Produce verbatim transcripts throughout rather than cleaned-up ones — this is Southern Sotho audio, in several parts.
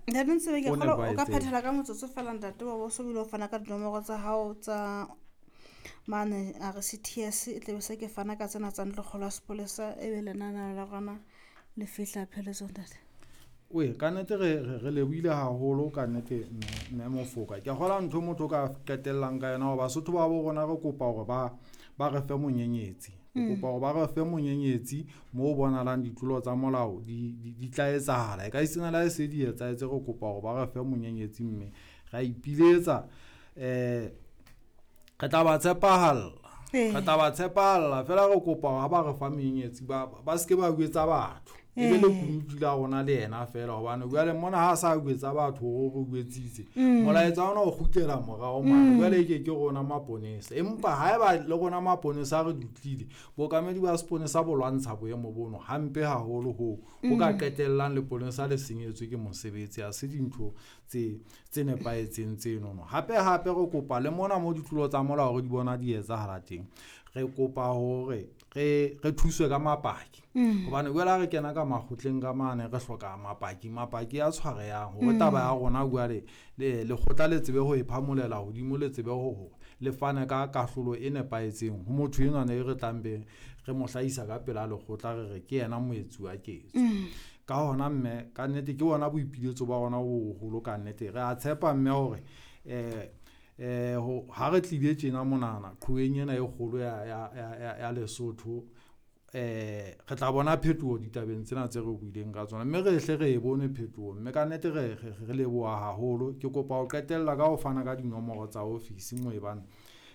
Ntate Ntshebe, ke kgolwa o ka phethela ka motsotso fela ntate wa bo so bile o fana ka dinomoro tsa hao tsa mane a re C T S, e tlabe se ke fana ka tsena tsa ntlokgolo ya sepolesa, ebe lenaneo la rona le fihla pheletsong, ntate. Oe, ka nnete re re lebohile haholo ka nnete, mme Mofoka. Ke kgola ntho motho o ka qetellang ka yona hore Basotho ba bo rona re kopa hore ba ba re fe monyenyetsi. Re kopa hore ba re fe monyenyetsi mo bonahalang ditlolo tsa molao di di tla etsahala. E ka esitana le ha e se di etsahetse, re kopa hore ba re fe monyenyetsi mme ra ipiletsa um re tla ba tshepahalla, re tla ba tshepahalla feela. Re kopa hore ha ba re fa menyenyetsi ba ba seke ba jwetsa batho, e be lekunutu la rona le yena feela, hobane jwale mona ha sa jwetsa batho hore re jwetsitse, molaetsa ona o kgutlela morao mane. Jwale ke ke rona maponesa, empa haeba le rona maponesa re dutlile, bookamedi ba seponesa bo lwantsha boemo bono hampe haholo hoo bo ka qetellang leponesa le senyetswe ke mosebetsi. Ha se dintho tse tse nepahetseng tsenono. Hape hape re kopa le mona mo ditlolo tsa molao re di bona di etsahala teng, re kopa hore re re thuswe ka mapaki, hobane jwale ha re kena ka makgotleng ka mane re hloka mapaki, mapaki a tshwarehang hore taba ya rona jwale le lekgotla le tsebe ho e phamolela hodimo, le tsebe hore le fane ka kahlolo e nepahetseng ho motho enwana e re tlang be re mo hlahisa ka pela lekgotla, re re ke yena moetsi wa ketso. Ka hona mme, kannete ke bona boipiletso ba rona bo boholo. Kannete re a tshepa mme hore um um ha re tlile tjena monana qhoweng ena e kgolo ya, ya, ya, ya Lesotho, eh re tla bona phetoho ditabeng tsena tse re buileng ka tsona, mme re hle re e bone phetoho. Mme kannete re re leboha haholo. Ke kopa ho qetella ka ho fana ka dinomoro tsa ofisi mo e bang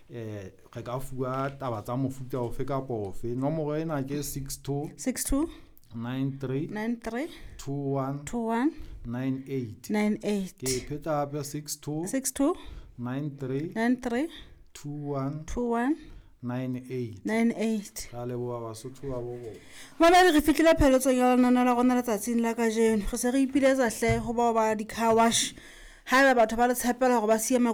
eh re ka fuwa taba tsa mofuta ofe kapa ofe. Nomoro ena ke six two six two nine three nine three two one two one nine eight. nine eight. Ke e pheta hape: six two six two nine three nine three two one two one nine eight. nine eight. Ra leboha, Basotho ba bo rona. Mamedi, re fihlile pheletsong ya lenaneo la rona letsatsing la kajeno. Re se re ipiletsa hle ho bao ba di-car wash, haeba batho ba le tshepela hore ba siye.